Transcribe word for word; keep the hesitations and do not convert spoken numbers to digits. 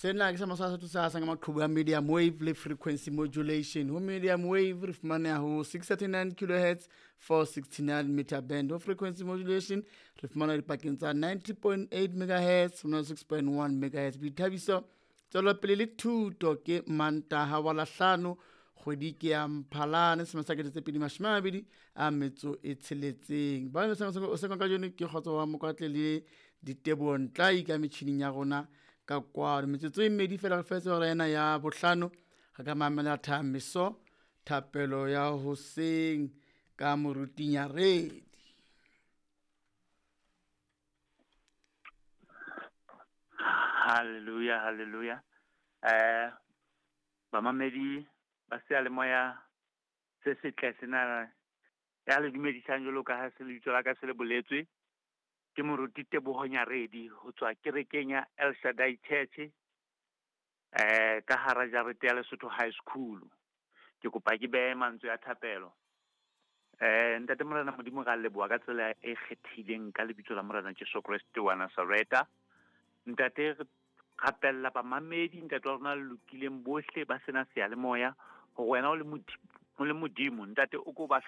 Sena ke sa maswa sa sa ka maqhubu a medium wave le frequency modulation. Ho medium wave re fumaneha ho six thirty-nine kilohertz, four sixty-nine meter band. Ho frequency modulation re fumana dipakeng tsa ninety point eight megahertz ho six point one megahertz. Boithabiso, tswelopele le thuto ke Mantaha wa Lahlano, kgwedi ke ya Mphalane, selemo sa kete tse pedi mashome a mabedi a metso e tsheletseng. Ba ne o se ka kajeno ke Kgotso wa Mokwatle le Diteboho Ntlai ka metjhining ya rona ka kwano. Metsotso e mmedi feela re fetse hora ena ya bohlano, re ka mamela Thameso, thapelo ya hoseng ka Moruti Nyaredi. Hallelujah, hallelujah. Eh, bamamedi ba seyalemoya se setle sena ya le dumedisang jwalo ka ha se lebitso la ka se le boletswe. Ke Moruti Teboho Nyaredi ho tswa kerekeng ya El Shaddai Church, eh, ka hara jarete ya Lesotho High School. Ke kopa ke behe mantswe a thapelo. Eh, Ntate Morena Modimo, ra leboha ka tsela e kgethileng ka lebitso la Morena Jesu Kreste wa Nazareta. Ntate, re rapella bamamedi, ntate wa rona le lokileng bohle ba sena seyalemoya, hore wena o le Modimo, o le Modimo, ntate o ko ba